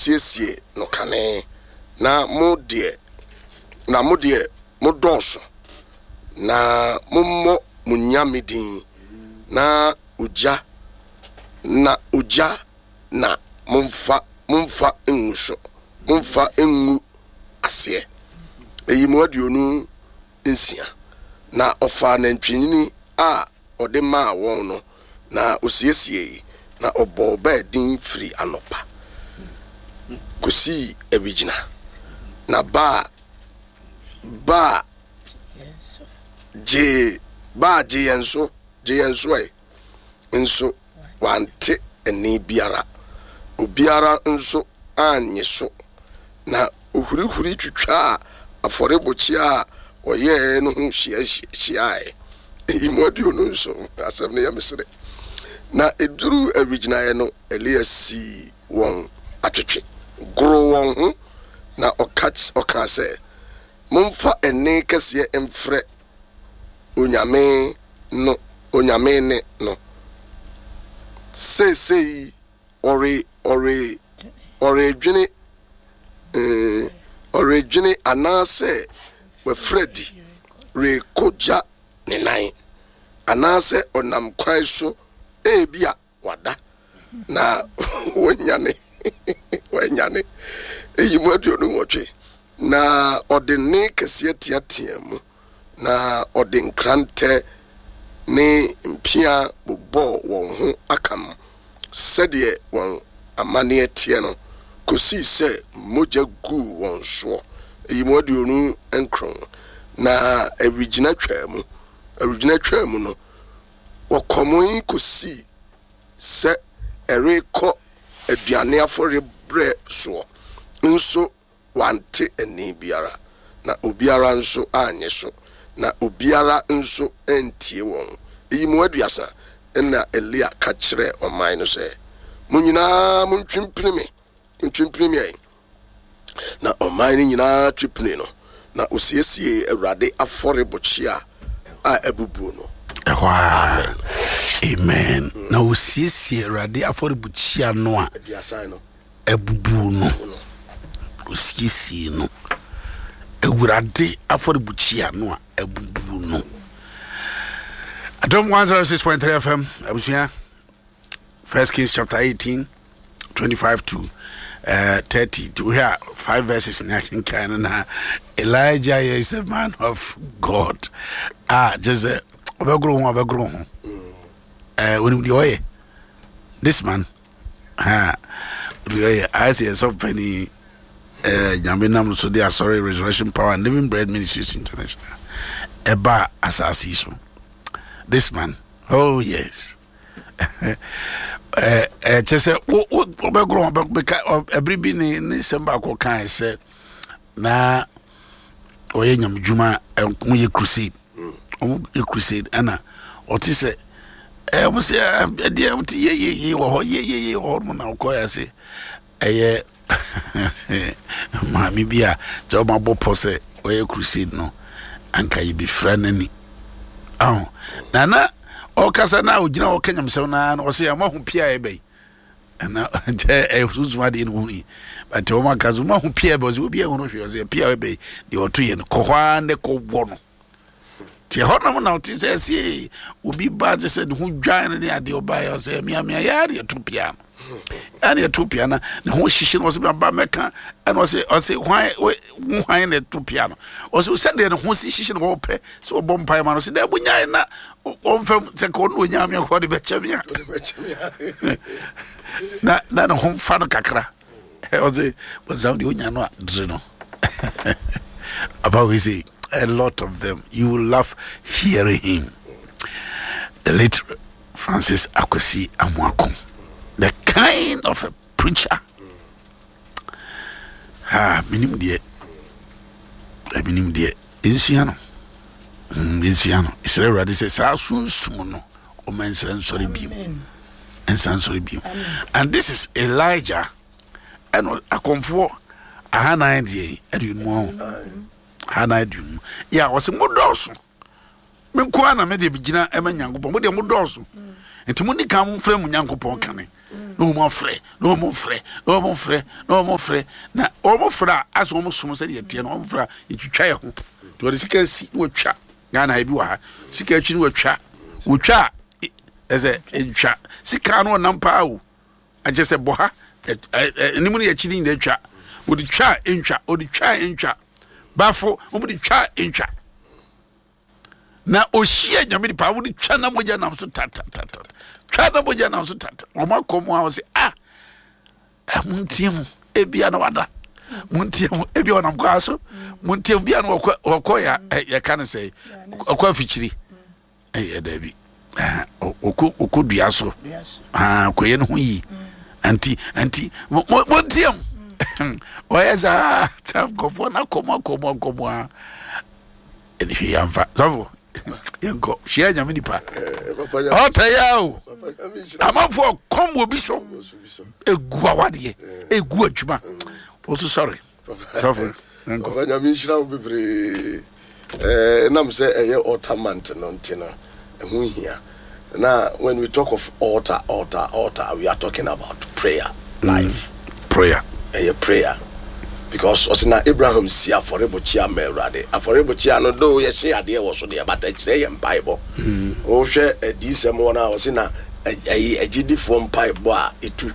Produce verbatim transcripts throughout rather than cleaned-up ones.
Monsiesie no kane, na mo deɛ, na mo deɛ modɔɔso, na mommɔ mo nyame din, na ogya, na ogya na momfa, momfa ngu so, momfa ngu aseɛ. Eyi mu aduonu nsia. Na ɔfaa nantwinini a ɔde maa wɔn no, na osiesiei, na ɔbɔɔ Baal din firi anɔpa kosii awigyina. Na Baal, Baal gyee, Baal gye yɛn so, gye yɛn so ɛ, nso wante ɛnne biara, obiara nso annye so. Na ohurihuri twitwaa afɔrebukyia a wɔyɛɛ no ho hyiae. Eyi mu aduonu nson, asɛm no yɛ me sere. Na eduruu awigyinaeɛ no, Elia sii wɔn atwetwe, goroo wɔn ho, na ɔka ɔkaa sɛ, Momfa ɛnne kɛseɛ mfrɛ Onyame no, Onyame nne no. Seesei ɔre ɔre ɔredwene eh, ɔredwene anaasɛ wafiri adi rekogya ne nan, anaasɛ ɔnam kwan so, ebia wada na wanyane wanyane. Eyi mu aduonu nwɔtwe. Na ɔde nne kɛseɛ teateaa mu, na ɔde nkrantɛ ne mpea bobɔɔ wɔn ho akam sɛdeɛ wɔn amanneɛ teɛ no, kɔsii sɛ mogya guu wɔn soɔ. Eyi mu aduonu nkron. Na awigyina twaa mu, awigyina twaa mu no, wɔkɔmoe kɔsii sɛ ɛrekɔ aduane afɔre berɛ soɔ, nso wante ɛnne biara, na obiara nso annye so, na obiara nso antie wɔn. Eyi mu aduasa. Ɛnna Elia ka kyerɛɛ ɔman no sɛ, Mo nyinaa montwe mpini me, montwe mpini me ɛ! Na ɔman no nyinaa twe pinii no, na osiesiee Awurade afɔrebukyia a abubuo no. Ɛhɔ ara, amen. Na osiesie Awurade afɔrebukyia no a abubuo no. Osiesie no. Awurade afɔrebukyia no a abubuo no. Adom one oh six point three F M, abusua, First Kings chapter eighteen, twenty-five to uh, thirty. To hear five verses na akenkan no na Elijah is a man of God. Ah, just sɛ ɔbɛgoro ho, ɔbɛgoro ho. Eh, onim deɛ ɔyɛ. This man, ha, deɛ ɔyɛ. Ayɛ sɛ yɛsɛ ɔpɛni eh, Nyame nam so de asɔre Resurrection Power and Living Bread Ministries International ɛba asase yi so. This man, oh yes. Kyɛ sɛ wobɛgoro ho bɛka ɛbere bi ne ne nsɛm baako kae sɛ na ɔyɛ nyamedwuma, ɔmo yɛ crusade, ɔmo yɛ crusade, ɛna ɔte sɛ ɛɛ ɔmo sɛ ɛdeɛ ɔmo te yeyeye wɔ hɔ, yeyeye wɔ hɔ nom, na ɔkɔɛ ase ɛyɛ maame bi a kyɛ ɔmo abɔ pɔ sɛ ɔyɛ crusade no anka yɛ bi fira n'ani aho na na ɔkasa na ogyina hɔ ɔka nyamesɛm naa na ɔsɛ ɛmo aho pia ɛbɛyi ɛna nkyɛ ɛyɛ sunsun adeɛ no hu yi, but wɔn aka so wɔn aho pia ɛbɛ, ɔsɛ obi ɛho no hwɛ, ɔsɛ pia ɛbɛ yi deɛ ɔto yɛ no kɔ hɔ ara ne kɔ wɔ no te hɔ nom na ɔte sɛ ɛsɛ obi ba te sɛ ne ho dwan no ne adeɛ ɔba yɛ, ɔsɛ miamia yɛ adeɛ to pia no ɛna ɛto pia na ne ho hyehye no, ɔsɛ ba mɛka, ɛna ɔsɛ ɔsɛ hwan wo hwan na ɛto pia no? Ɔsɛ sɛdeɛ ne ho si hyehye no, wɔpɛ sɛ ɔbɔ mpaeɛ ma no, ɔsɛ dɛ bonyae na ɔmfam sɛ ka ɔno onyame akɔ de bɛkyɛ me a na na ne ho fa no kakra. Ɔsɛ bɔnsam deɛ onya no a dere no about. We say a lot of them, you will love hearing him, the late Francis Akwasi Amoako, the kind of a preacher. Ah, menim deɛ, menim deɛ nsua no, nsua no. Ɛsrɛ Awurade sɛ saa sunsum no ɔma nsa nsɔre bio, nsa nsɔre bio. And this is Elijah, ɛna akɔmfoɔ ahanan deɛ aduonu ho, ahanan aduonu yɛ a ɔsɛ mo dɔɔso, me nko ara na me deɛ gyina ɛma Nyankopɔn, mo deɛ mo dɔɔso, nti mo ni kan mo frɛ mo Nyankopɔn kane na Na wɔn afrɛ, na wɔn frɛ, na wɔn frɛ, na wɔn frɛ, na wɔn frɛ a, asɛ wɔn som sɛdeɛ ɛteɛ no, wɔn frɛ a, yɛtwitwa yɛ ho. Nti wɔde sika si na wɔtwa. Ghana ebi wɔ ha, sika akyi na wɔtwa. Wɔtwa a, ɛsɛ ntwa sika no ɔnam paa o. Akyɛ sɛ bɔ ha, anim ne akyi ne nyinaa twa. Wɔde twa a ntwa, wɔde twa a ntwa. Bafo, wɔde twa a ntwa. Na ohyia Nyame nipa, wɔde twa na mogya nam so tatatata. Twa na mogya nam so tata. Wɔn akɔ mu a wɔsɛ, ah, montie mu, ebia na wada. Montie mu, ebia ɔnam kwan so. Montie mu, ebia na wɔkɔ wɔkɔ ya yɛka no sɛ ɔkɔ afikyiri. Ɛyɛ daabi. Ɔkɔ ɔkɔ dua so. Kɔyɛ ne ho yie. Nti nti mo montie mu. Ɔyɛ saa saa nkɔfoɔ no akɔ mu akɔ mu akɔ mu a ɛne hwee yɛmfa. Sɔfo yɛnkɔ hyia Nyame nipa. Ɔtɛ yɛ o. Amanfoɔ kɔm wɔ bi so. Egu awadeɛ, egu adwuma. Wɔso sɔre. Sɔfo yɛnkɔ. Papa, Nyame nhyira wo bebree. Ɛnam sɛ ɛyɛ altar month no nti no, ɛho hia. Na when we talk of altar, altar, altar, we are talking about prayer life. Prayer. Ɛyɛ prayer. Because ɔsɛ na Abraham si afɔrebɔkyia ma Awurade. Afɔrebɔkyia no do yɛhyɛ adeɛ wɔ so deɛ, but ɛkyerɛ yɛ mpaebɔ. Wohwɛ adiisɛm wɔ no a, ɔsɛ na ɛyi agyidifoɔ mpaebɔ a ɛtu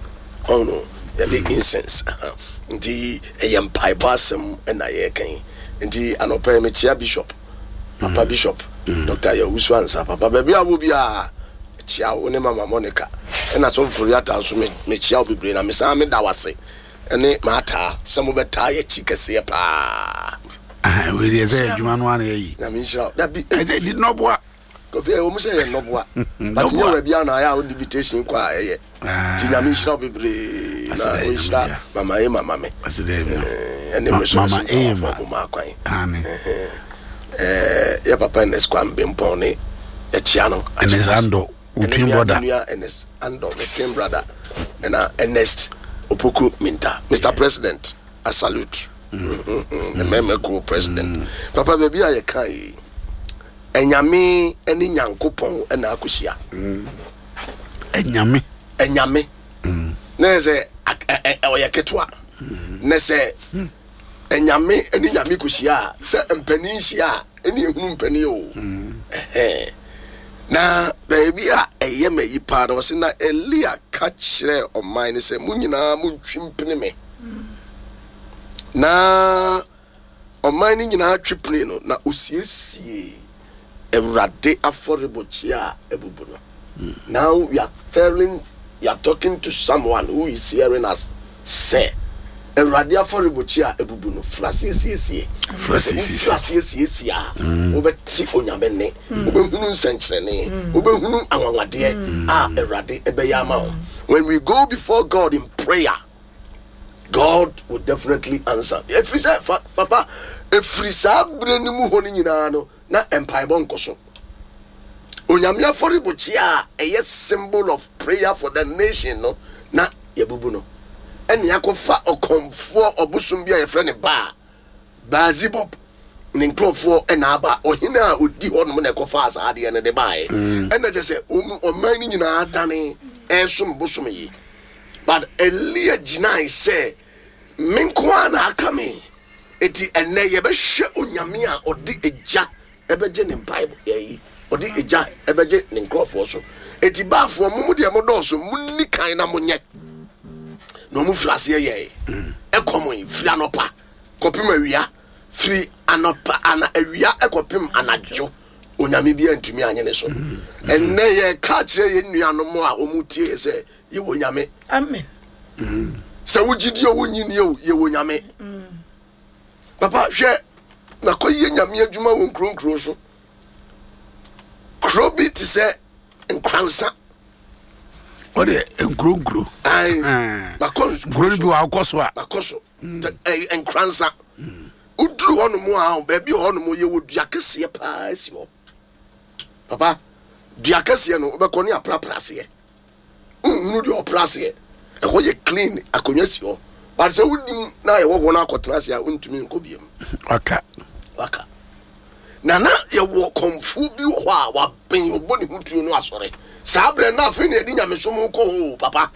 ɔno yɛde incense. Nti ɛyɛ mpaebɔ asɛm ɛna yɛreka yi. Nti anɔpa yi mekyia Bishop, Papa Bishop, Doctor Yawusu Ansa. Papa, baabi a wɔ biara kyia wo ne Mama Monica. Ɛna Sɔfo Foriata nso mekyia wo bebree, na mesan meda wo ase ɛne maataa sɛ mobɛtaa yɛkyi kɛseɛ paa. Wei deɛ sɛ adwuma no ana yɛyi. Nyame nhyira wo. Dabi, ɛsɛ di nnɔboa. Kofi, ɛwɔ mu sɛ yɛ nnɔboa, but nyɛ baabi a na ayɛ a wode invitation kɔ a ɛyɛ. Nti Nyame nhyira wo bebree na ɔnhyira Mama Emma ma me. Ɛne me so Mama Emma. Mo ma akwan. Yɛ papa Ernest Kwame Bempɔn ne ɛkyia no. Ernest Ando, wo twin brother. Nua Ernest Ando, me twin brother. Ɛna Ernest Opoku Minta. Mister President, I salute. Mɛmɛ ko president. Papa, baabi a yɛka yi, Ɛnyame ne Nyankopɔn na akɔhyia. Ɛnyame. Ɛnyame. Na yɛ sɛ ɔyɛ ketewa. Na sɛ ɛnyame ne Nyame kɔhyia a, sɛ mpanin hyia a, ɛne ehunu mpanin o. Na baabi a ɛyɛ ma yi paa na ɔse na Elia ka kyerɛɛ ɔman no sɛ mo nyinaa montwi mpene me. Na ɔman no nyinaa twe pene no, na osiesie Awurade afɔrebɔkyia a abubu no. Now we are telling, we are talking to someone who is hearing us sɛ Awurade afɔrebɔkyia a abubu no, fra siesiesie. Fra siesiesie. Fra siesiesie a, wobɛte Onyame nne, wobɛhunu nsɛnkyerɛnne, wobɛhunu anwanwadeɛ a Awurade ɛbɛyɛ ama wo. When we go before God in prayer, God will definitely answer. Ɛfiri sɛ, fa, papa, ɛfiri saa berɛ no mu hɔ no nyinaa no, na mpaebɔ nkɔ so. Onyame afɔrebɔkyia a ɛyɛ symbol of prayer for the nation no, na yɛbubu no. Ɛne akɔfa ɔkɔmfoɔ ɔbosom bi a yɛfrɛ no Baal, Beelzebub, ne nkurɔfoɔ ɛna aba. Ɔhene a ɔdi hɔ nom na ɛkɔfaa saa adeɛ no de baeɛ. Ɛna kyerɛ sɛ ɔman no nyinaa dane ɛresom bosom yi. But Elia gyinae sɛ me nko ara na aka me. Eti ɛnɛ yɛbɛhwɛ Onyame a ɔde egya ɛbɛgye ne mpaebɔ yɛyi, ɔde egya ɛbɛgye ne nkurɔfoɔ so. Eti baafoɔ mo mu deɛ mo dɔɔso, mo nni kan na mo nyɛ. Na ɔmo firi aseɛ yɛɛ. Ɛkɔm yi firi anɔpa kɔpem awia, firi anɔpa ana awia ɛkɔpem anadwo. Onyame bi antumi anye ne so. Ɛnɛ yɛka kyerɛ yɛn nuanom a ɔmo tie yɛ sɛ yɛwɔ Nyame. Amen. Sɛ wogye di o, wonnye nni o, yɛwɔ Nyame. Papa, hwɛ, nakɔyɛ Nyame adwuma wɔ nkuro nkuro so. Kuro bi te sɛ Nkransa. Ɔde nkuro nkuro. Ayi, makɔ nkuro no bi wɔ akɔ so a. Makɔ so. Nkransa. Woduru hɔnom a, baabi wɔ hɔnom yɛwɔ dua kɛseɛ paa si hɔ. Papa, dua kɛseɛ no wobɛkɔ ne aprapra aseɛ. Nhunu deɛ ɔpra aseɛ. Ɛhɔ yɛ clean, akonnwa si hɔ. But sɛ wonim na yɛwɔ hɔ no akɔtena ase a, wontumi nkɔ biam. Waka. Waka. Na na yɛwɔ kɔmfoɔ bi wɔ hɔ a wabɛn, ɔbɔ ne ho tuo no asɔre. Saa berɛ na afei na yɛde nyamesom kɔ hɔ o, papa.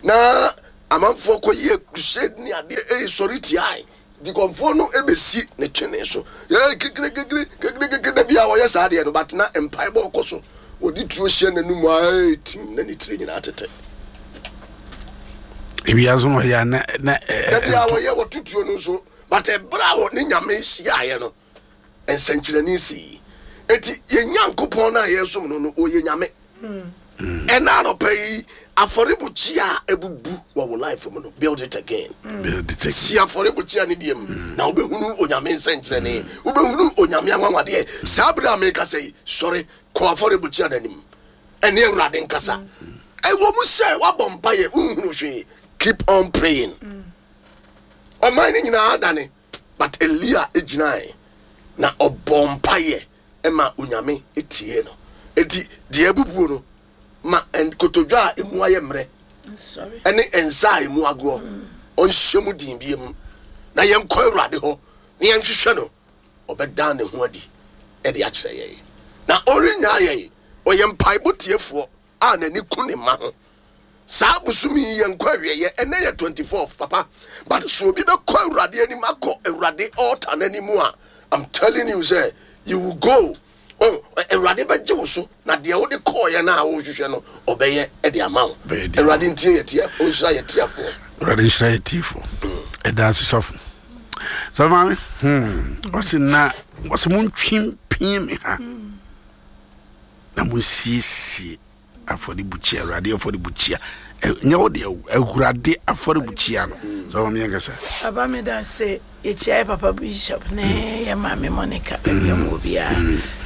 Na amanfoɔ kɔyɛ crusade ne adeɛ ɛyɛ sɔre tiae. Nti kɔmfoɔ no ɛbɛsi ne twene so. Yɛ kekere kekere kekere kekere da bia wɔyɛ saa adeɛ no, but na mpaebɔ kɔ so. Wɔde tuo hyɛ n'anum a ɛyɛ tim na ne tiri nyinaa tete. Ewiase no ɔyɛ a na na Da bia wɔyɛ wɔto tuo no nso, but ɛberɛ a wɔ ne Nyame hyiaeɛ no, nsɛnkyerɛnne sii. Enti yɛn Nyankopɔn no a yɛsom no no, ɔyɛ Nyame. Ɛna anɔpa yi, afɔrebukyia a abubu wɔ wo life mu no, build it again. Build it again. Si afɔrebukyia ne deɛ mu na wobɛhunu Onyame nsɛnkyerɛnne, wobɛhunu Onyame anwanwadeɛ. Saa berɛ a meka sɛ yi, sɔre kɔ afɔrebukyia no anim ɛne Awurade nkasa. Ɛwɔ mu sɛ woabɔ mpayɛ wonhunu hwee, keep on praying. Ɔman no nyinaa dane, but Elia gyinae na ɔbɔ mpayɛ ɛma Onyame tie no. Enti deɛ abubuo no, ma nkotodwe a emu ayɛ mmerɛ ɛne nsa a emu agoɔ ɔnhyɛ mu din bie mu, na yɛnkɔ Awurade hɔ na yɛnhwehwɛ no. Ɔbɛdan ne ho adi ɛde akyerɛ yɛn na ɔrennyaa yɛn. Ɔyɛ mpaebɔ tiefoɔ a n'ani ku ne mma ho. Saa bosomi yi yɛnkɔ awieɛ, ɛnɛ yɛ twenty-fourth, papa, but so obi bɛkɔ Awurade anim, akɔ Awurade altar n'anim a, I'm telling you sɛ you will go. Oh, Awurade bɛgye wo so na deɛ wode kɔɔyɛ no a wohwehwɛ no, ɔbɛyɛ ɛde ama wo. Bɛyɛ de ama. Awurade ntie yɛ tie, ɔnhyira yɛ tiafoɔ. Awurade nhyira yɛ tiefo. Ɛda ase, sɔfo. Sɔfo maame, hmm ɔse na ɔse montwe mpie me ha na monsiesie afɔrebukyia, Awurade afɔrebukyia. Ɛ- nyɛ wo deɛ o, Awurade afɔrebukyia no. Sɔfo maame, yɛnkasa. Papa, meda ase. Yɛkyia yɛ papa Bishop ne yɛ maame Monica baabi a ɔmo wɔ biara,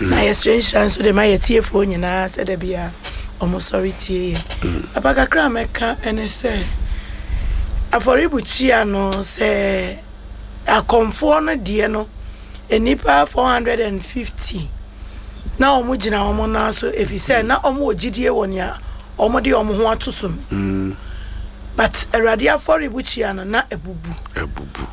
na yɛsrɛ nhyira nso de ma yɛtiefoɔ nyinaa sɛ da biara ɔmo sɔre tie yɛ. Papa, kakra a mɛka ɛne sɛ afɔrebukyia no, sɛ akɔmfoɔ no deɛ no, nnipa four hundred and fifty na ɔmo gyina ɔmo nan so, ɛfiri sɛ na ɔmo wɔ gyidie wɔ nea ɔmo de ɔmo ho ato so no, but Awurade afɔrebukyia no na abubu. Abubu.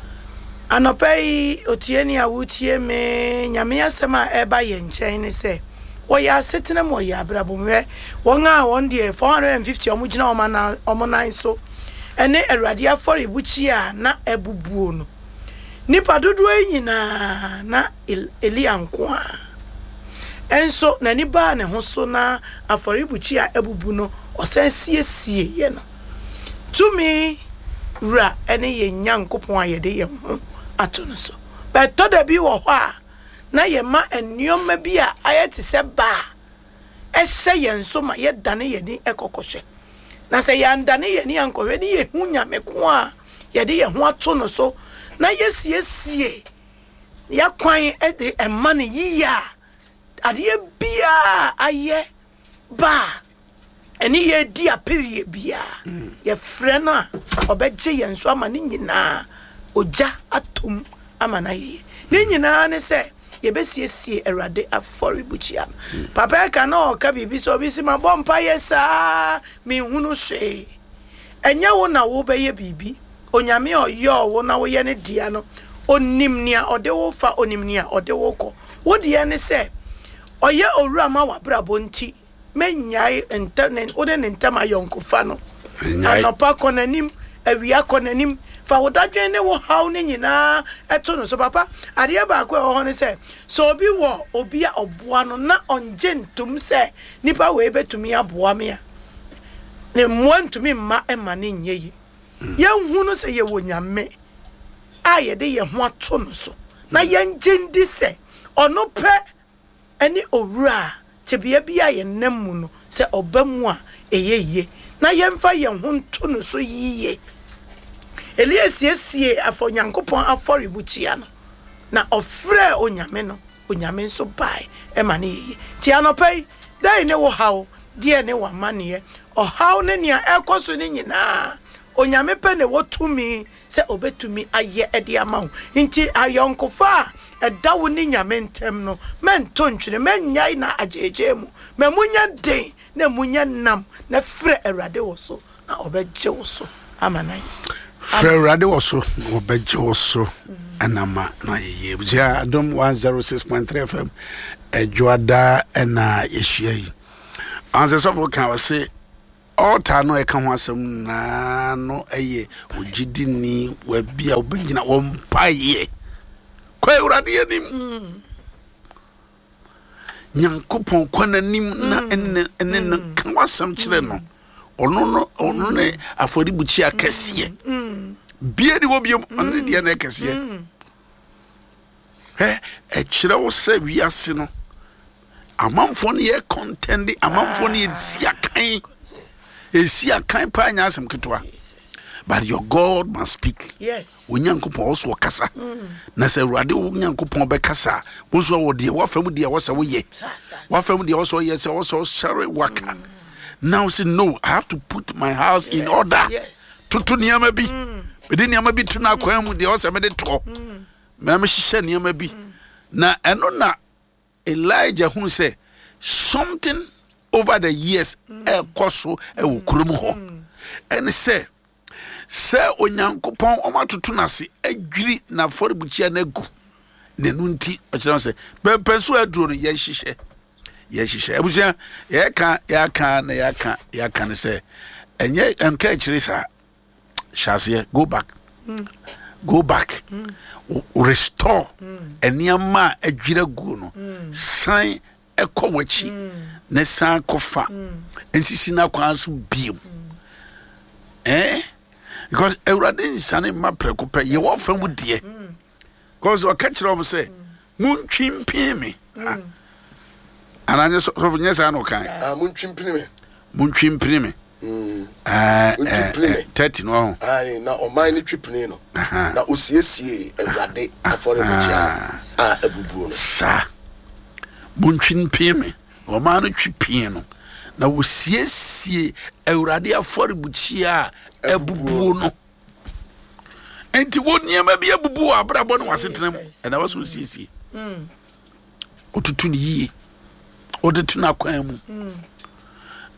Anɔpa yi, otieni a wotie me, Nyame asɛm a ɛba yɛn nkyɛn ne sɛ wɔyɛ asetena mu, wɔyɛ abrabɔ mu hwɛ wɔn a wɔn deɛ four hundred and fifty a wɔn gyina wɔn anan wɔn nan so ɛne Awurade afɔrebukyia a na abubuo no, nipa dodoɔ yi nyinaa na El- elia nko a ɛnso n'ani baa ne ho so na afɔrebukyia a abubu no, ɔsan siesie yɛ no. Tumi wura ɛne yɛn Nyankopɔn a yɛde yɛn ho ato no so, bɛtɔ da bi wɔ hɔ a na yɛma nneɛma bi a ayɛ te sɛ baa ɛhyɛ yɛn so ma yɛdane yɛn ani ɛkɔkɔhwɛ, na sɛ yɛandane yɛn ani ankɔhwɛ ne yɛhu Nyame ko a yɛde yɛn ho ato no so na yɛsiesie yɛakwan de ɛma no yie a, adeɛ biaa ayɛ baa ɛne yɛdi apereɛ biaa, yɛfrɛ no a, ɔbɛgye yɛn so ama ne nyinaa ogya atom ama no ayɛyɛ. Ne nyinaa ne sɛ yɛbɛsiesie Awurade afɔrebukyia no. Papa, ɛka na ɔka biribi sɛ obi si mabɔ mpa yɛ saa menhunu hwee. Ɛnyɛ wo na wobɛyɛ biribi. Onyame a ɔyɔɔ wo na woyɛ ne dea no, onim nea ɔde wo fa, onim nea ɔde wo kɔ. Wo deɛ ne sɛ ɔyɛ owura ma w'abrabɔ, nti mɛnyae ntɛ ne wode ne ntɛm ayɔnkofa no. Ɛnyae. Anɔpa kɔ n'anim, awia kɔ n'anim, fa wo dadwen ne wo haw ne nyinaa ɛto no so. Papa, adeɛ baako a ɛwɔ hɔ ne sɛ, sɛ obi wɔ obi a ɔboa no na ɔngye ntom sɛ nipa wei bɛtumi aboa me a, ne mmoa ntumi mma ɛma ne nyɛ yi. Yɛnhu no sɛ yɛwɔ Nyame a yɛde yɛn ho ato no so na yɛngye ndi sɛ ɔno pɛ ɛne owura a tebea bi a yɛnam mu no, sɛ ɔba mu a ɛyɛ yie, na yɛmfa yɛn ho nto no so yie. Elia siesie afɔ Nyankopɔn afɔrebukyia no na ɔfrɛ Onyame no, Onyame nso bae ɛma ne yɛyie. Nti anɔpa yi, dɛn ne wo haw, deɛ ne w'amanneɛ, ɔhaw ne nea ɛkɔ so ne nyinaa, Onyame pɛ ne wɔ tumi sɛ ɔbɛtumi ayɛ ɛde ama wo. Nti ayɔnkofa a ɛda wo ne Nyame ntɛm no, mɛnto ntwene, mɛnyae na agyegye mu ma mu nyɛ den na mu nyɛ nam, na frɛ Awurade wɔ so na ɔbɛgye wo so ama no ayɛ. Frɛ Awurade wɔ so na wɔbɛgye wo so ɛnama na ayɛyie. Abusua, Adom one oh six point three F M, Adwoada ɛna yɛhyia yi. Ansɛ sɔfo ka, ɔse Altar no ɛka ho asɛm nyinaa no ɛyɛ ogyidini wabi a wobɛgyina wɔ mpaeɛ kɔ Awurade anim, Nyankopɔn kɔ n'anim na ɛne ɛne no ka w'asɛm kyerɛ no. Ɔno no, ɔno ne afɔrebukyia kɛseɛ bie ne wɔ biom, ɔno ne deɛ na ɛkɛseɛ. Hɛ, ɛkyerɛ wo sɛ wiase no amanfoɔ no yɛ contend, amanfoɔ no yɛ si akan, ɛsi akan paa, nyɛ asɛm ketewa, but your God must speak. Yes. Onyankopɔn ɔso ɔkasa, na sɛ Awurade wo Nyankopɔn bɛkasa a, wo nso wɔ deɛ wafa mu, deɛ wɔsɛ woyɛ. Sa sa. Wafa mu deɛ wɔsɛ ɔyɛ, sɛ wɔsɛ ɔsɛre waka now say no, I have to put my house in order. Yes. Toto nneɛma bi, mede nneɛma bi to no akwan mu deɛ ɔsɛ mede toɔ mɛ mehyehyɛ nneɛma bi, na ɛno na Elijah hunu sɛ something over the years ɛkɔ so ɛwɔ kurom hɔ, ɛne sɛ sɛ Onyankopɔn ɔmo atoto n'ase adwiri n'afɔrebukyia no agu. N'ano nti ɔkyerɛ sɛ pɛmpɛn so aduro no yɛnhyehyɛ yɛnhyehyɛ Abusua, yɛka yɛaka na yɛaka yɛaka ne sɛ ɛnyɛ nka akyire saa, hyɛ aseɛ, go back, go back, mm. restore nneɛma a adwira guo no, san ɛkɔ w'akyi na san kɔfa nsisi n'akwan so biem, eh because Awurade nsane mma prɛko pɛ. Yɛwɔ fa mu deɛ, because ɔka kyerɛ wɔn sɛ montwi mpin me. Ah. Anaa nyɛ sɔfo, nyɛ saa na ɔkan? Ah, montwi mpini me. Montwi mpini me. Mm. Eh, Montwi eh, mpini eh, me. Thirty no ɔho. Aye, na ɔman no twi pini no Aha. na osiesie Awurade afɔrebukyia no a abubuo no. Saa, montwi mpin me. Ɔmaa no twi pii no na wɔsiesie Awurade afɔrebukyia a abubuo no. Nti wo nneɛma bi abubu wɔ abrabɔ ne wasetena mu, ɛna wɔ sɛ osiesie, otutu ne yie, ɔde to n'akwan mu.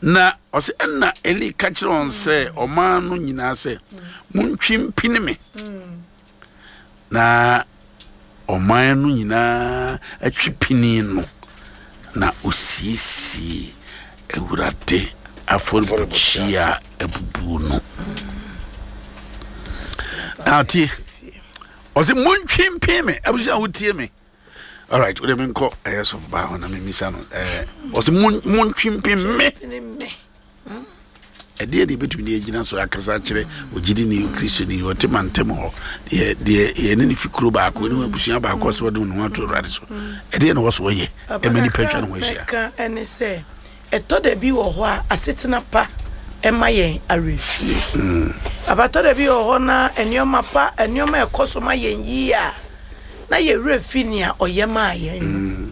Na ɔsɛ ɛna Eli ka kyerɛ wɔn sɛ ɔman no nyinaa sɛ montwi mpini me, na ɔman no nyinaa atwi pini no na osiesie Awurade afɔrebukyia a abubuo no. Na tie, ɔsɛ montwi mpini me. Abusua a wotie me, alright, wode menkɔ ɛyɛ sɔfo baa hɔ na memisa no. ɛɛ ɔsɛ mon- montwi mpini me. Ne me. Ɛdeɛ deɛ bɛtumi de agyina so akasa kyerɛ ogyidi ne Kristoni ɔte mantam hɔ, deɛ deɛ yɛne ne fi kuro baako ne abusua baako sɛ wɔde ne ho ato Awurade so, ɛdeɛ na wɔ so wɔyɛ ɛma nipa atwa ne ho ahyia? Mɛka ɛne sɛ ɛtɔ da bi wɔ hɔ a, asetena pa ɛma yɛn awerɛfie. Abatɔ da bi wɔ hɔ na nneɛma pa, nneɛma ɛkɔ so ma yɛn yie a, na yɛwerɛ fi nea ɔyɛ maa yɛn no,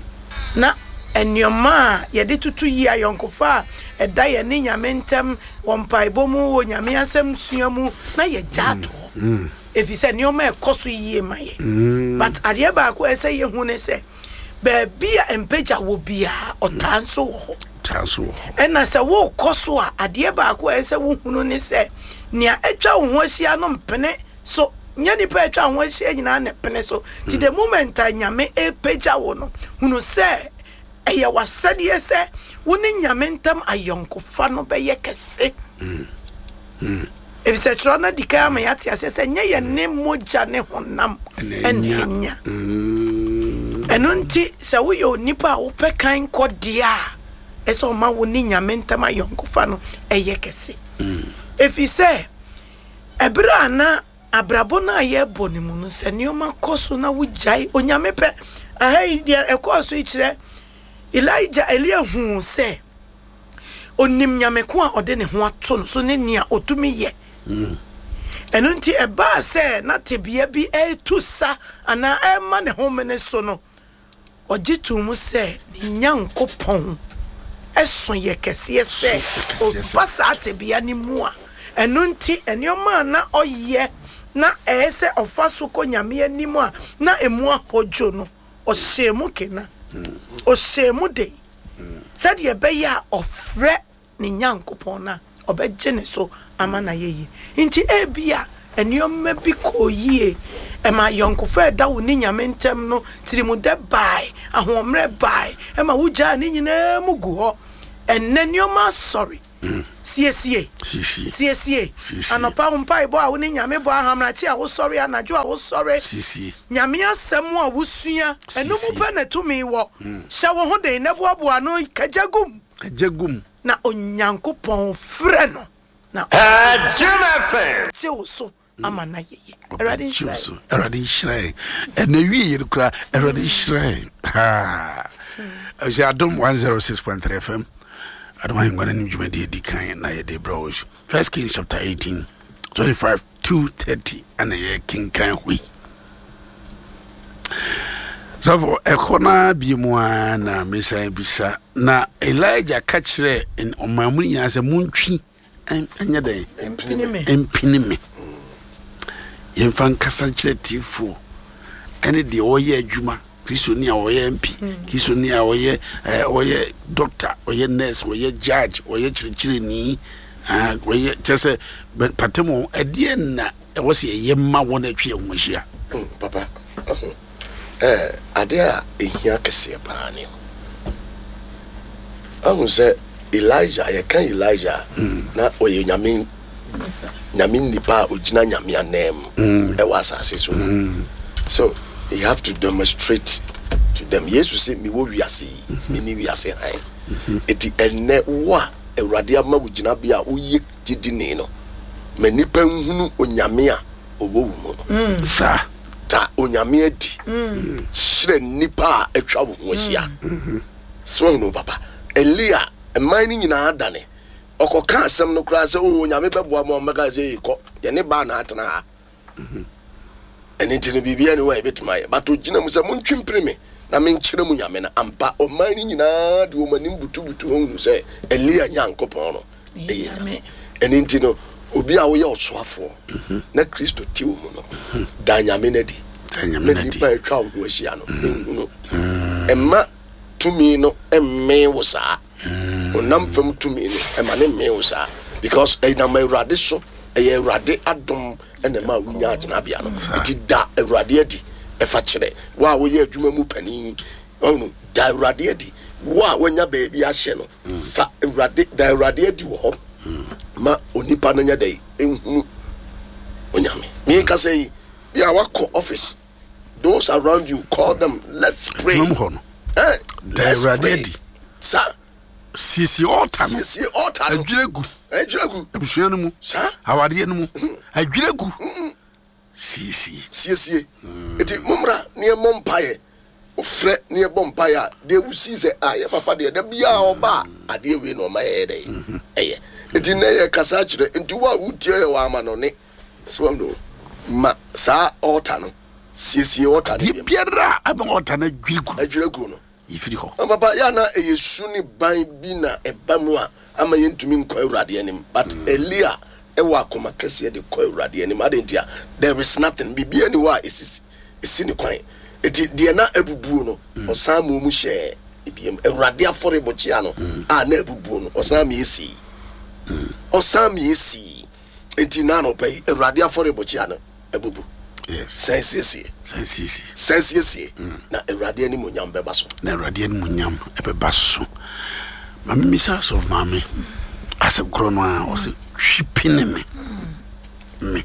na nneɛma a yɛde tutu yie, ayɔnkofa a ɛda yɛn ne Nyame ntam wɔ mpaebɔ mu, wɔ Nyame asɛm sua mu, na yɛgya ato hɔ, ɛfiri sɛ nneɛma ɛkɔ so yie ma yɛn. But adeɛ baako a ɛsɛ yɛhu ne sɛ baabi a mpagya wɔ biara, ɔtaa nso wɔ hɔ. Taa so wɔ hɔ. Ɛna sɛ wokɔ so a, adeɛ baako a ɛsɛ wohunu ne sɛ nea atwa wo ho ahyia no mpene so, nyɛ nipa atwa wo ho ahyia nyinaa ne pene so. Nti the moment a Nyame ɛpagya wo no, hunu sɛ ɛyɛ w'asɛdeɛ sɛ wo ne Nyame ntam ayɔnkofa no bɛyɛ kɛse, ɛfisɛ twerɛ no di kan ama yɛate aseɛ sɛ nyɛ yɛ ne mogya ne honam ɛna ɛna ɛnya. Ɛnya ɛno nti sɛ woyɛ onipa a wopɛ kan kɔ deɛ a, ɛsɛ ɔma wo ne Nyame ntam ayɔnkofa no ɛyɛ kɛse, ɛfiri sɛ ɛberɛ a na abrabɔ no a yɛbɔ no mu no, sɛ nneɛma kɔ so na wogyae Onyame pɛ aha yi deɛ ɛkɔɔ so yi kyerɛ Elijah, Elia huu sɛ onim Nyame ko a ɔde ne ho ato no so ne nea ɔtumi yɛ. Ɛno nti ɛbaa sɛ na tebea bi ɛretu sa anaa ɛrema ne ho mene so no, ɔgye to mu sɛ ne Nyankopɔn ɛso yɛ kɛseɛ sɛ So yɛ kɛseɛ sɛ. ɔba saa tebea no mu a. Ɛno nti nneɛma a na ɔyɛ na ɛyɛ sɛ ɔfa so kɔ Nyame anim a na emu ahɔdwo no, ɔhyɛ mu kena, ɔhyɛ mu den sɛdeɛ ɛbɛyɛ a ɔfrɛ ne Nyankopɔn no a, ɔbɛgye ne so ama na yɛyie. Nti ebia nneɛma bi kɔɔ yie, ɛma yɔnkofa ɛda wo ne Nyame ntam no tirimudɛ bae, ahoɔmmerɛ bae, ɛma wogyaa ne nyinaa mu gu hɔ. Ɛnnɛ nneɛma asɔre. Siesie. Siesie. Siesie. Siesie. Anɔpa wo mpaebɔ a wo ne Nyame bɔ, ahamrakye a wosɔre, anadwo a wosɔre. Siesie. Nyame asɛm a wosua, ɛno mu Siesie. pɛ na tumi wɔ. Hyɛ wo ho den na boaboa ano kagya gum. Kagya gum. Na Onyankopɔn frɛ no na Jim F M. gye wo so ama na yɛyɛ. Awurade nhyira so yɛn. Awurade nhyira yɛn. Ɛna wie yɛ no koraa, Awurade nhyira yɛn. Ha ɛsɛ Adom one oh six point three F M, Adom Ahengua no anim dwumadie di kan na yɛde brɛ wo. First Kings chapter eighteen twenty-five to thirty ɛna yɛ kenkan hɔ yi. Sɔfo, ɛkɔ no bie mu a na mesan bisa na Elijah ka kyerɛ ɔman mu no nyinaa sɛ montwi ɛn- ɛnyɛ dɛn? Mpini me. Mpini me. Yɛmfa nkasa nkyerɛ tiefoɔ ɛne deɛ ɔyɛ adwuma, Kristoni a ɔyɛ M P, Kristoni a ɔyɛ ɛɛ ɔyɛ doctor, ɔyɛ nurse, ɔyɛ judge, ɔyɛ kyerɛkyerɛni, ah, ɔyɛ kyerɛ sɛ bɛ- patam wɔ ɛdeɛ na ɛwɔ sɛ yɛyɛ ma wɔn atwi yɛn ho ahyia. Mm, papa ɔho ɛɛ adeɛ a ehia kɛseɛ paa ne ahu sɛ Elijah, yɛka Elijah a, na ɔyɛ nyame nyame nipa a ogyina Nyame anan mu ɛwɔ asase so. So you have to demonstrate to them. Yesu sɛ, "Mewɔ wiase yi, mene wiase han." Eti ɛnɛ wo a Awurade ama wo gyinabea a woyɛ gyidini no, ma nipa nhunu Onyame a ɔwɔ wo mu no. Saa. Ta Onyame adi kyerɛ nnipa a atwa wo ho ahyia. Sɛ woahunu, papa, Elia mman no nyinaa dane ɔkɔka asɛm no koraa sɛ o Onyame bɛboa ma ɔmmɛka sɛ, "Ei, kɔ yɛne baa na atena ha." Ɛno nti no, biribia ne hɔ a yɛbɛtumi ayɛ, but ogyina mu sɛ, "Montwe mpere me na menkyerɛ mu Nyame no." Ampa, ɔman no nyinaa de wɔn anim butubutu hɔ hunu sɛ Elia Nyankopɔn no ɛyɛ Nyame. Ɛno nti no, obi a woyɛ ɔsoafoɔ na Kristo te wo mu no, da Nyame no adi Da Nyame na no adi. nnipa a atwa wo ho ahyia no ɛnhunu. Ɛma tumi no ɛmmee wo saa. Ɔnam fam tumi no, ɛma ne mmee wo saa, because ɛnam Awurade so, ɛyɛ Awurade adom ɛna ɛma wonya agyinabea no. Nti da Awurade adi. Ɛfa kyerɛ wo a woyɛ adwuma mu panin ɔno, da Awurade adi. Wo a woanya baabi ahyɛ no, fa Awurade, da Awurade adi wɔ hɔ ma onipa no nyɛ dɛ ɛnhunu Onyame. Meka yi bi a wakɔ office, those around you, call them, let's pray. Adwuma mu hɔ no, Eh, da let's Awurade pray. adi. Saa. Siesie ɔɔta no. Siesie altar no. Adwira gu. Adwira gu. Abusua no mu, saa awadeɛ no mu, adwira gu, siesie. Siesie. Nti mommra ne yɛmmɔ mpaeɛ. Wofrɛ ne yɛbɔ mpaeɛ a, deɛ wosii sɛ a yɛ papa deɛ, da biaa ɔba a, adeɛ wei na ɔma yɛyɛ dɛ ɛyɛ. Nti nnɛ yɛ kasa kyerɛ. Nti wo a wotie yɛ wɔ ama no ne sɛ no ma saa altar no, siesie altar no. Deɛ biam. Biara a ama ɔɔta no adwiri gu, Adwira gu no, yɛfiri hɔ. Na papa yɛ na ɛyɛ su ne ban bi na ɛba mu a ama yɛntumi nkɔ Awurade anim, but Elia ɛwɔ akoma kɛseɛ de kɔ Awurade anim. Ade nti a there is nothing, biribia ni hɔ a ɛsisi ɛsi ne kwan. Eti deɛ na abubuo no, ɔsan mu mu hyɛɛ ebiem. Awurade afɔrebɔkyea no a na abubuo no, ɔsan mi esi, ɔsan mi esi. Eti na anɔpɛ yi, Awurade afɔrebɔkyea no abubu, yes sɛn siesie. Sɛn siesie. Sɛn siesie na Awurade anim onyam bɛba so. Na Awurade animuonyam ɛbɛba so. Maame, misa asɔfo maame asɛm korɔ no a ɔsɛ twi pene me me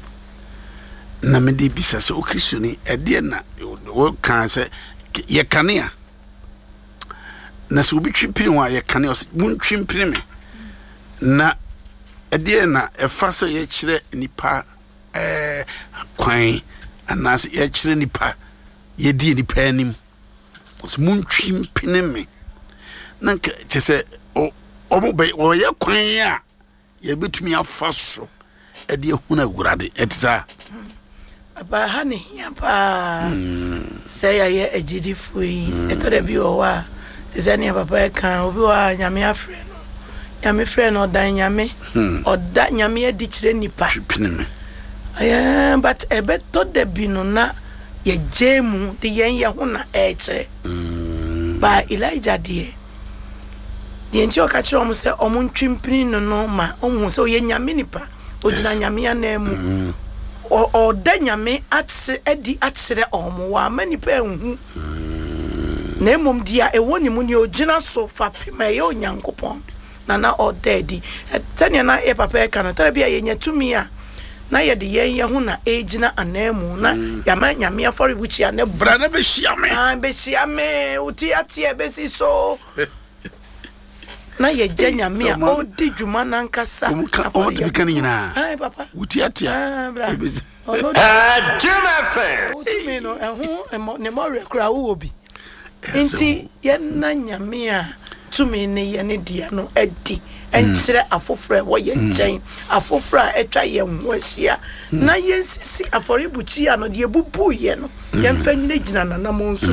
na mede bisa sɛ okristoni, ɛdeɛ na wɔka sɛ yɛ kanea na sɛ obi twi pene ho a yɛ kanea, ɔsɛ montwi mpene me na ɛdeɛ na ɛfa sɛ yɛkyerɛ nipa ɛɛ kwan anaasɛ yɛkyerɛ nipa, yɛdi nipa anim, ɔsɛ montwi mpene me na nka kyɛ sɛ ɔ- ɔmo bɛ ɔyɛ kwan a yɛbɛtumi afa so ɛde ahunu Awurade. Ɛte saa. Papa, ha ne hia paa sɛ yɛayɛ agyidifoɔ yi. Ɛtɔ da bi wɔ hɔ a, te sɛ nea papa ɛka, obi wɔ hɔ a Nyame afrɛ no, Nyame frɛ no, ɔdan Nyame, ɔda Nyame adi kyerɛ nipa. Twi pene me. Ɛɛ, but ɛbɛtɔ da bi no na yɛgye mu de yɛn yɛ ho na ɛɛkyerɛ ba. Elijah deɛ deɛ nti ɔka kyerɛ ɔmo sɛ ɔmo ntwi mpini no no ma ɔmo hu sɛ ɔyɛ Nyame nipa, ogyina Yes. Nyame anan mu. Ɔ- ɔda Nyame akyerɛ adi akyerɛ ɔmo, wama nipa ehu, na mmom deɛ ɛwɔ ne mu, nea ogyina so fa pem a ɛyɛ Onyankopɔn. na na ɔda adi. Sɛnea na yɛ papa ɛka no, tara bi a yɛnya tumi a na yɛde yɛn yɛ ho na ɛgyina anan mu na yɛama Nyame afɔrebukyia ne bra na bɛhyia me. Ah, bɛhyia me, wote ateɛ bɛsi so na yɛgya Nyame a ɔdi dwuma nankasa. Ɔmotumi ka no nyinaa. Ai, papa. Wote ateɛ. Ah, bra. Ɔno wotumi no ɛho ɛmɔ- ne mmɔwerɛ koraa wowɔ bi, nti yɛna Nyame a tumi ne yɛ ne dea no adi ɛnkyerɛ afoforɔ a ɛwɔ yɛn nkyɛn, afoforɔ a atwa yɛn ho ahyia, na yɛnsisi afɔrebukyia no deɛ bubuiɛ no, yɛmfa nyinagyina nanam nso.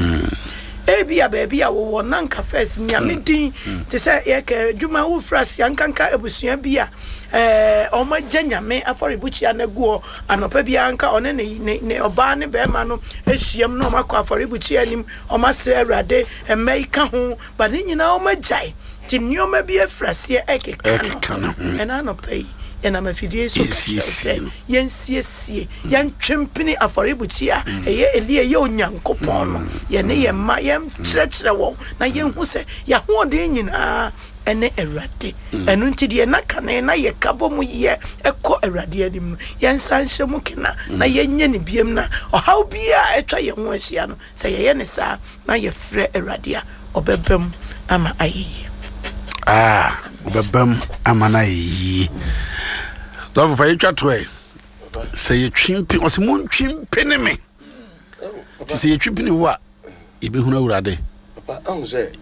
Ebi a baabi a wowɔ na nka first Nyame din te sɛ yɛka adwuma wofiri aseɛ nkanka abusua bi a ɛɛ ɔmo agya Nyame afɔrebukyia no agu hɔ, anɔpa biara nka ɔne ne ne ne ɔbaa ne bɛrima no ahyiam na ɔmo akɔ afɔrebukyia anim, ɔmo asrɛ Awurade, mma yi ka ho ba ne nyinaa ɔmo agyae, nti nneɛma bi afiri aseɛ ɛkeka ɛkeka ne no. Ho. Ɛna anɔpa yi yɛnam afidie so ka kyerɛ wo Yɛnsiesie sɛ no. Yɛnsiesie, yɛntwempene afɔrebukyia ɛyɛ Eli, ɛyɛ Onyankopɔn no. Yɛne yɛn mma yɛnkyerɛkyerɛ wɔn na yɛnhu sɛ yɛahoɔden nyinaa ɛne Awurade. Ɛno nti deɛ na kane na yɛka bɔ mu yɛ ɛkɔ Awurade anim no, yɛnsa nhyɛ mu kena na yɛnyɛ ne biem, na ɔhaw biaa atwa yɛn ho ahyia no, sɛ yɛyɛ ne saa na yɛfrɛ Awurade a, ɔbɛba mu ama ayɛ yie. Ah, wobɛbam ama no ayɛ yie. Dɔfo, fa yɛtwa to ɛ sɛ yɛtwe mpe, ɔsɛ montwe mpe ne me, nti sɛ yɛtwe pene wo a, yɛbɛhunu Awurade. Papa, ahu sɛ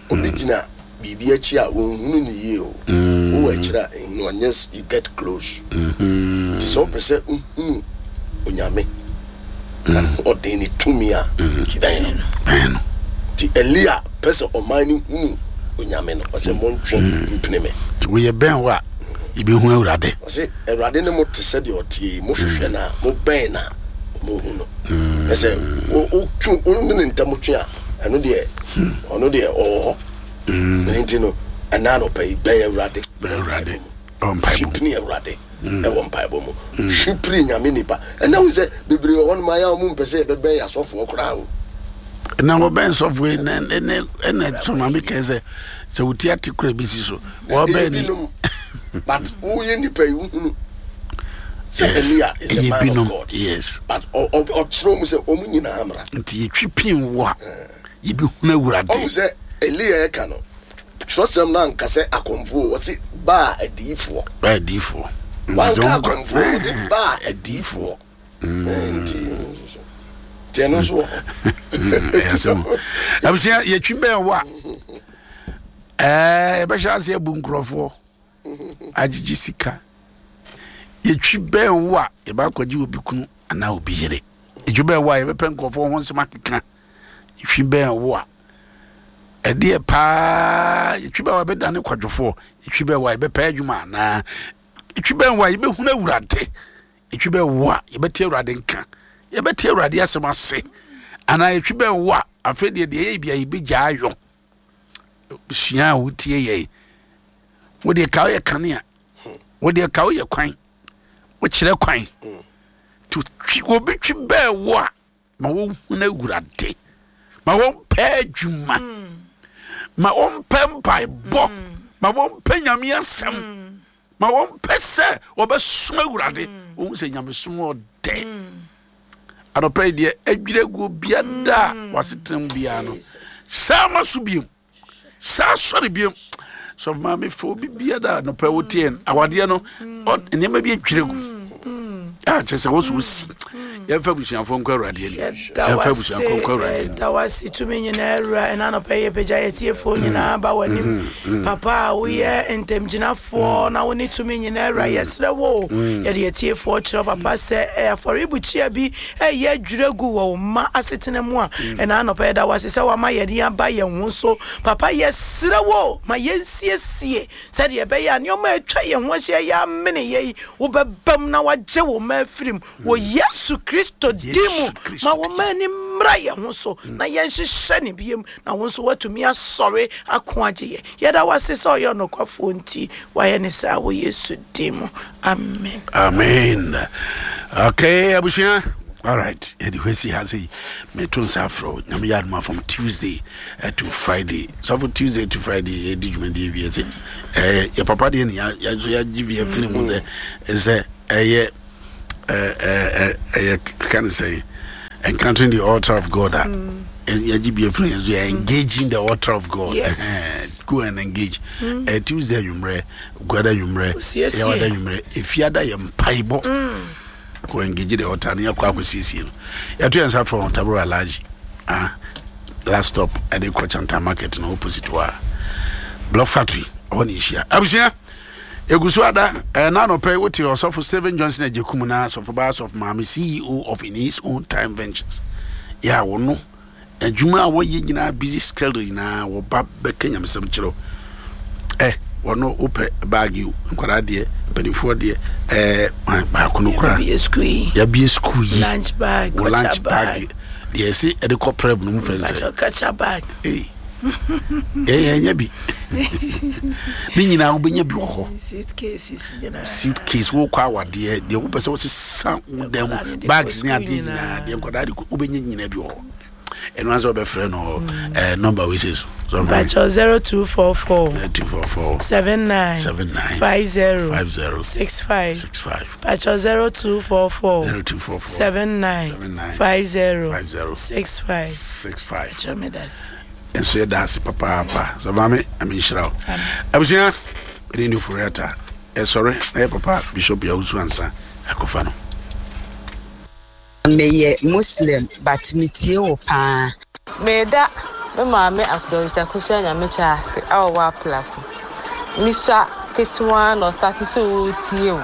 obi gyina biribi akyi a wɔnhunu ne yie o. Wowɔ akyiri a nhunu unless you get close. Nti sɛ wopɛ sɛ wohunu Onyame na ɔden ne tumi a, bɛn no. Bɛn no. Nti Elia pɛ sɛ ɔman no hunu Onyame no, ɔsɛ montwe mpene me. Nti woyɛ bɛn wo a, yɛbɛhu Awurade. Ɔsɛ Awurade ne mo te sɛdeɛ ɔteɛ yi, mohwehwɛ no a, mobɛn no a, mohu no. Ɛ sɛ wo- wotwe wo ne ne ntam twe a, ɛno deɛ ɔno deɛ ɔwɔ hɔ. Ɛno nti no, ɛna anɔpa yi, bɛn Awurade. Bɛn Awurade ɔwɔ mpaebɔ mu. Hwipini Awurade ɛwɔ mpaebɔ mu, hwipiri Nyame nipa. Ɛna hu sɛ bebree wɔ hɔnom ayɛ a ɔmo mpɛ sɛ yɛbɛbɛn asɔfoɔ koraa o. Na wɔbɛn sɔfo yi na ɛnɛ ɛnɛ so maame kɛn sɛ sɛ woti ate kora bɛsi so wɔbɛn ni. Ebinom, but woyɛ nipa yi, wohunu sɛ Yes, Elia is a ɛyɛ man binom, of God, yes. but ɔ- ɔ- ɔkyerɛ mu sɛ ɔmo nyinaa mmra. Nti yɛtwi pin wo a, yɛbɛhunu Awurade. Ɔhu sɛ Elia ɛka no, twerɛsɛm no anka sɛ akɔmfoɔ, wɔse baa adiyifoɔ. Baa adiyifoɔ. Nti sɛ Wanka wɔn kɔ- akɔmfoɔ, wɔse baa adiyifoɔ. Nti nti ɛno nso wɔ hɔ. Ɛyɛ asɛm o. Abusua, yɛtwi bɛn wo a, ɛɛ yɛbɛhyɛ ase abu nkurɔfoɔ agyegye sika. Yɛtwi bɛn wo a, yɛbɛakɔgye obi kunu anaa obi yere. Yɛtwi bɛn wo a, yɛbɛpɛ nkurɔfoɔ ho nsɛm akeka. Yɛtwi bɛn wo a, ɛdeɛ paa yɛtwi bɛn wo a, yɛbɛdane kwadwofoɔ. Yɛtwi bɛn wo a, yɛbɛpɛ adwuma anaa. Yɛtwi bɛn wo a, yɛbɛhunu Awurade. Yɛtwi bɛn wo a, yɛbɛte Awurade nka, yɛbɛte Awurade asɛm ase anaa. Yɛtwi bɛn wo a, afei deɛ deɛ ɛyɛ bia yɛbɛgya ayɔ sua a wotie yɛn. Wodeɛ ka woyɛ kanea, wodeɛ ka woyɛ kwan, wokyerɛ kwan to twi obi twi bɛɛ wo a, ma wɔnhunu Awurade, ma wɔmpɛ adwuma, ma wɔmpɛ mpaebɔ, ma wɔmpɛ Nyame asɛm, ma wɔmpɛ sɛ wɔbɛsom Awurade. Wɔhu sɛ nyamesom ɔdɛ. Anɔpa yi deɛ adwiri aguo biada a wasetena mu biara no, saa ma so biom, saa sɔre biom. Sɔfo maame, fa obi biada anɔpa yi woteɛ awadeɛ no, ɔ- nneɛma bi adwiri agu a kyerɛ sɛ wo so wosi. Yɛmfa abusuafoɔ nkɔ Awurade anim. Yɛda Yɛmfa abusuafoɔ nkɔ Awurade anim. Yɛda wase, tumi nyinaa Awura. Ɛna anɔpɛ yi yɛpagya yɛtiefoɔ nyinaa ba w'anim. Papa a woyɛ ntamgyinafoɔ na wo ne tumi nyinaa Awura, yɛserɛ wo, yɛde yɛtiefoɔ kyerɛ wo, papa, sɛ ɛ, afɔrebukyia bi ɛyɛ adwira gu wɔ wo mma asetena mu a, ɛna anɔpɛ yɛda wase sɛ wama yɛde aba yɛn ho so. Papa, yɛserɛ wo, ma yɛnsiesie sɛdeɛ ɛbɛyɛ a nneɛma a atwa yɛn ho ahyia yɛ amene yɛ yi, wobɛbam na wagye wo mma afiri mu wɔ Yesu Kristo di mu. Yesu Kristo. Ma wo mma ani mmra yɛn ho so na yɛnhyehyɛ ne biam, na wo nso woatumi asɔre ako agye yɛ. Yɛda wase sɛ ɔyɛ ɔnokwafoɔ nti wayɛ ne saa wɔ Yesu din mu, amen. Amen. Okay, abusua. Alright, yɛde hɔ asi ha sei. Meto nsa afrɛ wo, Nyame yɛ adom a, from Tuesday eh, to Friday. Sɔfo, Tuesday to Friday yɛdi dwumadie wie sɛ eh, yɛ papa deɛ ne yɛ nso yɛagye bi afiri mu sɛ sɛ ɛyɛ ɛyɛ ka ne sɛ encountering the altar of God a yɛgye bi afiri yɛn so, yɛ engaging the altar of God. Yes. Eh, go and engage. mm. eh, Tuesday anwummerɛ, Guada anwummerɛ, Yɛwada anwummerɛ, Efiada yɛ mpaebɔ. Kɔ engage the altar ne yɛkɔ akɔsiesie no. Yɛto yɛn nsa frɛ wɔn Tabora Alhaji, ah, last stop ɛde kɔ Chanta Market no opposite hɔ a Block Factory ɔhɔ ne yɛhyia. Abusua, egu so ada ɛɛ n'anɔpɛ yi, wote Ɔsɔfo Stephen Johnson Agyekum na Asɔfo Baa Asɔfo Maame, C E O of In His Own Time Ventures, yɛ a wɔno adwuma a wɔyɛ nyinaa, busy schedule nyinaa, wɔba bɛka nyamesɛm kyerɛw. Ɛ wɔno wopɛ bag o, nkwadaa deɛ, mpanimfoɔ deɛ, ɛɛ baako no koraa. Yɛabie sukuu yi. Yɛabie sukuu yi. Lunch bag. Wɔ lunch bag deɛ, ɛsi ɛde kɔ prep no mu fɛ sɛ culture bag. Ee, yɛn yɛn bi ne nyinaa wobɛnya bi wɔ hɔ. Suitcases nyinaa. Suitcase, wokɔ awadeɛ deɛ, wopɛ sɛ wosesa wo dan mu bags ne adeɛ nyinaa deɛ, nkwadaa de wobɛnya nyinaa bi wɔ hɔ. Ɛno ansɛ wobɛfrɛ no ɛɛ number wei sɛ so. Mpakyɛw, zero two four four. Two four four. seven nine. Seven nine. five zero. Five zero. six five. Six five. Mpakyɛw, zero two four four. Zero two four four. seven nine. Seven nine. five zero. Five zero. six five. Six five. Mpakyɛw, medase. Nso yɛda ase papaapa sɛ maame ame nhyira wo. Abusua, ɛne ne Oforiata ɛsɔre na yɛ papa Bishop Yawusu ansa akɔfa no. Meyɛ Muslim but metie wo paa. Meda me maame Akudɔnsi Akosua Nyamekyɛ ase a ɔwɔ Aplaku. Misua ketewa na ɔstart sɛ ɔretie wo.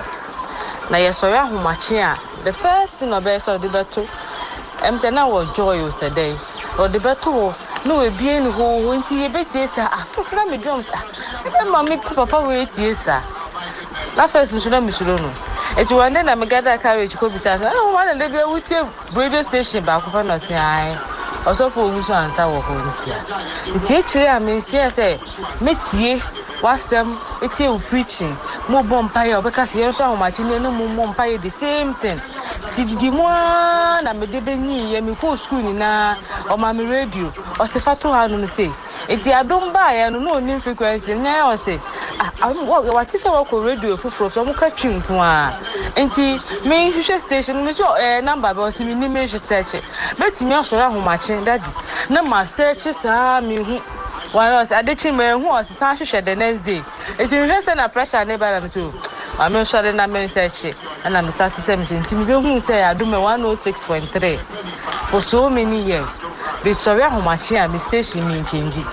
Na yɛsɔre ahomakye a, the first thing ɔbɛyɛ sɛ ɔde bɛto ɛm sɛ na wɔ Joy o sɛ dɛn ɔde bɛto hɔ na wabie ne hooho, nti yɛbɛtie saa. Ah, first na medwam sɛ, ah, ɛdɛ ma me papa wei tie saa. Na first nso na mesuro no, nti one day na me gather courage kɔ bisa sɛ, ɛna wɔn na de bi wotie radio station baako pɛ? Na ɔse ae, Ɔsɔfo Owusu Ansa wɔ hɔ nsia. Nti akyire a menhyia sɛ metie w'asɛm, etie wo preaching, mo bɔ mpaeɛ a, ɔbɛka sɛ yɛn nso ahomakye ne ne mo mmɔ mpaeɛ, the same thing. Nti didi mu ara na mede bɛnyiiɛ, mekɔɔ sukuu nyinaa, ɔma me radio, ɔse fa to hanom sei. Nti Adom baeɛ no, na ɔnim frequency no, na ɔse, ah, wate sɛ wɔkɔ radio foforɔ so, ɔmo ka Twi nko a, nti mehwehwɛ station no, meso ɛɛ number bɛ, ɔse menim mehwɛ search. Mɛtumi asɔre ahomakye, daddy, na ma search saa mehu wɔn, ɔse adekye mehu, ɔse san hwehwɛ the next day. Nti mehwɛ sɛ na pressure ne ba na me so maame nsɔre na me nsearch, ɛna me start sɛ mehyɛ, nti mebɛhu sɛ Adom one oh six point three for so many years. Mesɔre ahomakye a, me station mi nkyɛngyi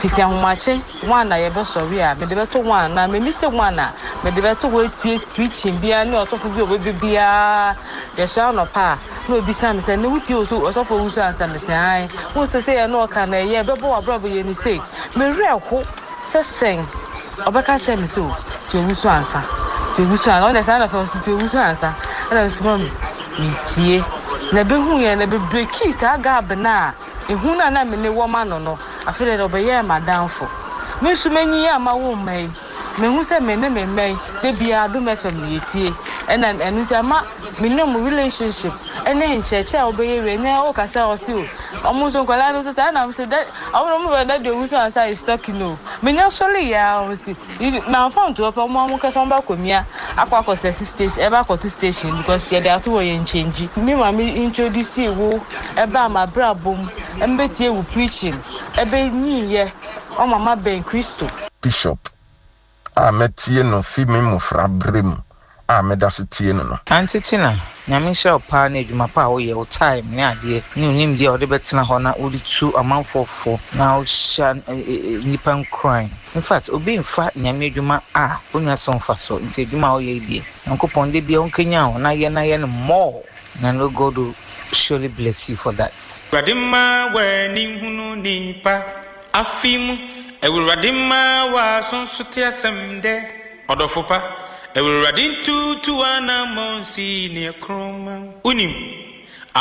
fiti ahomakye one na yɛbɛsɔre a, mede bɛto one na m'ani te one a, mede bɛto hɔ etie preaching biara ne ɔsɔfo bi a ɔbɛbɛ biara. Yɛsɔre anɔpa a, na obisa me sɛ, ne wotie oso Ɔsɔfo Owusu Ansa? Me sɛ ae. Wo sɛ sɛ yɛ na ɔka na ɛyɛ ɛbɛbɔ w'abrabɔ yɛ ne sei. Mewerɛ ho sɛ sɛn ɔbɛka kyerɛ me sɛ o tie Owusu Ansa, tie Owusu Ansa. Ɔno saa na fɛn ɔsi tie Owusu Ansa, ɛna nso ma me metie na ebehu yɛn na bebreki saa gap na ehu na na me ne wɔ ma no no Afei deɛ ɔbɛyɛɛ m'adamfo. Me nso m'anyi yɛ ama wo mma yi, mehu sɛ me ne me mma yi de biara Adom F M yɛtie, ɛna ɛno nti ama me ne ɔmo relationship ɛne nkyerɛkyerɛ a wobɛyɛ wie ne ɔkasa a ɔse o ɔmo nso nkwadaa no nso saa na ɔmo sɛ dɛ ɔmo na ɔmo bɛ Daddy Owusu Ansa is talking o. Menya sɔre yɛ a, ɔmo si mamfa nto hɔ pɛ, ɔmo ɔmo kasa, ɔmo ba kɔ akɔ akɔ sɛ station, ɛba akɔto station because yɛde ato wɔ yɛn nkyɛngyi. Me maame introduce wo ɛba ama abrabɔ mu, ɛmbɛtie wo preaching, ɛbɛnyinyɛ ɔmo ama bɛn Kristo. Bishop a mɛtie no fi me mmɔfra berɛ mu a meda so tie no no. Auntie Tina, Nyame nhyira wo paa ne adwuma pa a woyɛ, wo time ne adeɛ ne wo nimdeɛ a wode bɛtena hɔ na wode tu amanfoɔ fo na wohyɛ nnipa nkuran. In fact, obi mfa Nyame adwuma a wonya so mfa so, nti adwuma a woyɛ yi deɛ, Nyankopɔn de bia wonkanyan wo na yɛ na yɛ no more. And I know God will surely bless you for that. Awurade ma w'ani hunu nipa afi mu, Awurade ma w'aso nso te asɛm dɛ ɔdɔfo pa, Awurade ntutu anammɔn si neɛ kroma. Wonim